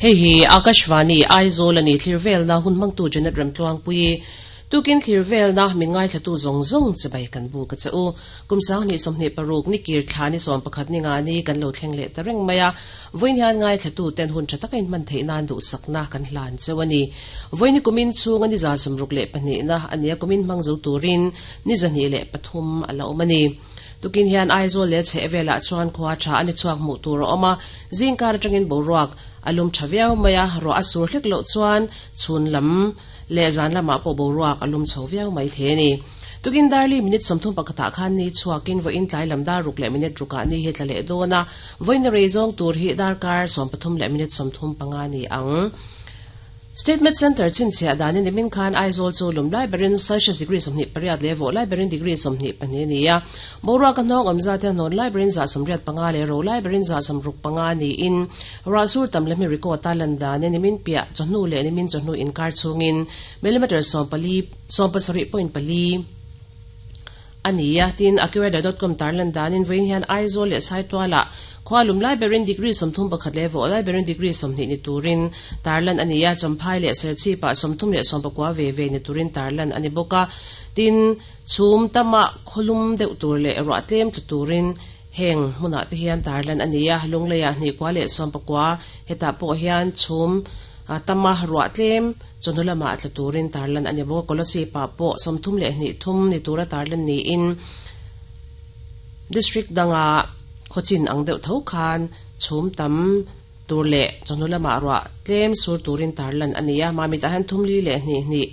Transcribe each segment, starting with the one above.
Hei hi Akashvani, Aizawl a ni thlir velna hun hmangtu Janet Remtluangpuii tukin thlir velna min ngaithlatu zawng zawng chibai kan buk a che u. Kum 2026 ni kir thla ni 11 ni nga ni kan lo thleng leh ta reng mai a. Vawiin hian ngaithlatu ten hun tha taka inhman theih nan duhsakna kan hlan cheu a ni. Vawiin hi kumin chhunga ni 62 na a nia kumin hmang zo turin ni 23 a la awm a ni. Tukin hian Aizawl leh chheh velah chuan khua tha a ni chhuak hmuh tur a awm a, zingkar atangin boruak a lum tha viau mai a, ruah a sur hlek loh chuan chhun lam leh zan lamah pawh boruak a lum chho viau mai thei a ni. Tukin darli minute 31 ah khan ni chhuakin vawiin tlai lam dar ruk leh minute rukah ni hi tla leh dawn a, vawiin rei zawng tur hi darkar 13 leh minute 35 ni ang. Statement Centre chhinchhiah danin nimin khan Aizawl chu lum lai berin Celsius degree 28 leh vawh lai berin degree 22 a ni a. Boruak a hnawng awm zat hian hnawn lai berin 85 leh ro lai berin 65 niin ruah sur tam lehmi record a lan danin nimin piah chawhnu leh nimin chawhnu inkar chhungin millimetre 17.4 a ni a. Tin, AccuWeather.com tarlan danin vawiin hian Aizawl leh Saitualah khua lum lai berin degree 31 leh vawh lai berin degree 20 ni turin tarlan a ni a. Champhai leh Serchhipah 39 ve ve ni turin tarlan a ni bawk a. Tin, chhum tama khawlum deuh tur leh ruah tlem tla turin heng hmunah te hian tarlan a ni a. Lungleiah 29 hetah pawh hian chhum tama ruah tlem Chawhnu lamah tla turin tarlan a ni bawk a, Kolasib-ah pawh 32 ni tura tarlan niin District danga khawchin ang deuh tho khan chhum tam tur leh chawhnu lamah ruah tlem sur turin tarlan a ni a, Mamitah hian thum li leh hnih hnih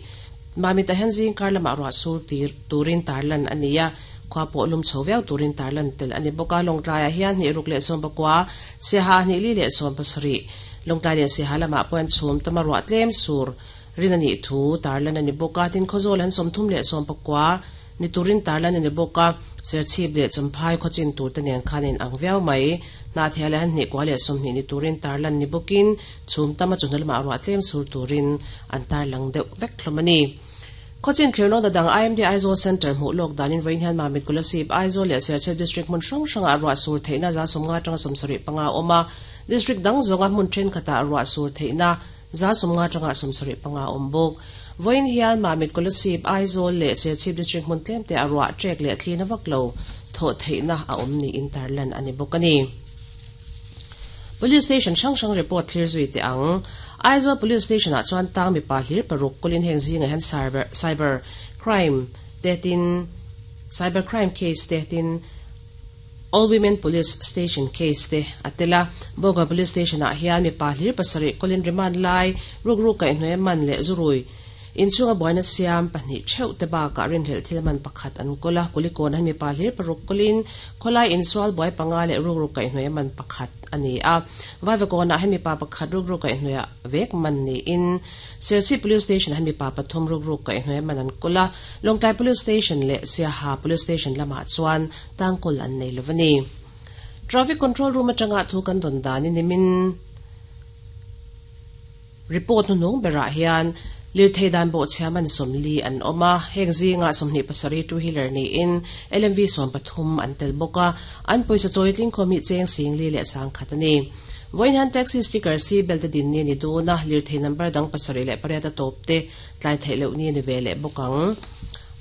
Mamitah hian zingkar lamah ruah sur tir turin tarlan a ni a, khua pawh lum chho viau turin tarlan tel a ni bawk a, Lawngtlaiah hian 2 leh 19, Siaha 2 leh 70. Lawngtlai leh Siaha lamah pawh hian chhum tama ruah tlem sur rin a nih thu tarlan a ni bawk a, tin Khawzawl an 39 ni turin tarlan a ni bawk a, Serchhip leh Champhai khawchin tur te nen khan a inang viau mai. Hnahthial leh han 2 leh 20 ni turin tarlan ni bawkin chhum tama chawhnu lamah ruah tlem sur turin an tarlang deuh vek hlawm a ni. Khawchin thlirnawn ta dang IMD Aizawl Centre hmuh lawk danin vawiin hian Mamit Kolasib, Aizawl leh Serchhip District hmun hrang hrangah ruah sur theihna 50 atanga 75 a awm a, District dang zawnga hmun thenkhatah ruah sur theihna 50 atanga 75 a awm bawk. Vawiin hian Mamit Kolasib, Aizawl leh Serchhip District hmun tlemte a ruah trek leh thlina vak lo thawh theihna a awm niin tarlan a ni bawk a ni. Police Station hrang hrang report thlir zui teh ang. Aizawl Police Station ah chuan tang mipa hlir paruk kawlin heng zingah hian cyber cyber crime te tin cyber crime case te tin All Women Police Station case te a tel a. Bawngkawn Police Station ah hian mipa hlir pasarih kawlin remand lai rukru kaihhnuai man leh zurui inchhunga buaina siam pahnih theuh te bakah rinhlelh thil man pakhat an kawl a. Kulikawn ah hian mipa hlir paruk kawlin khawlai insual buai panga leh rukru kaihhnuai man pakhat a ni a. Vaivakawnah hian mipa pakhat rukru kaihhnuaiah vek man niin Serchhip Police Station ah hian mipa pathum rukru kaihhnuai man an kawl a. Lawngtlai Police Station leh Siaha Police Station lamah chuan tangkawl an nei lo a ni. Traffic Control Room atanga thu kan dawn danin nimin Report hnuhnung berah hian lirthei dan bawhchhia man 40 an awm a, heng zingah 27 two wheeler niin LMV 13 an tel bawk a, an pawisa chawi tlingkhawm hi cheng 4000 leh 1000 a ni. Vawiin hian taxi sticker seat belt a din ni a ni dawn a, lirthei number dang 78 a tawp te tlai theih loh ni a ni ve leh bawk ang.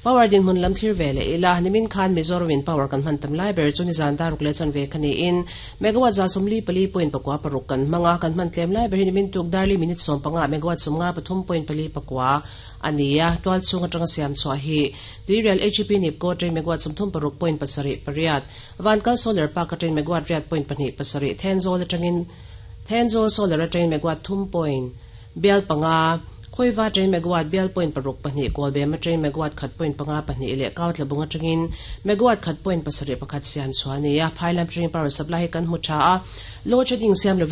Power dinhmun lam thlir ve leh ila, nimin khan Mizoram in power kan hman tam lai ber chu nizan daruk leh chanve kha niin megawatt 54.96 kan hmang a, kan hman tlem lai ber hi nimin tuk darli minute 15 megawatt 53.49 a ni a, tual chhung atanga siam chhuah hi Tuirial HEP Nipco atangin megawatt 36.78, Vankal Solar Park atangin megawatt 8.27, Thenzawl atangin Thenzawl Solar atangin megawatt thum point bial panga, Khawiva atangin megawatt bial point paruk pahnih, Kawlbem atangin megawatt khat point panga pahnih leh Kautlabung atangin megawatt khat point pasarih pakhat siam chhuah a ni a. Phailam atangin power supply hi kan hmu tha a, load shedding siam lovin.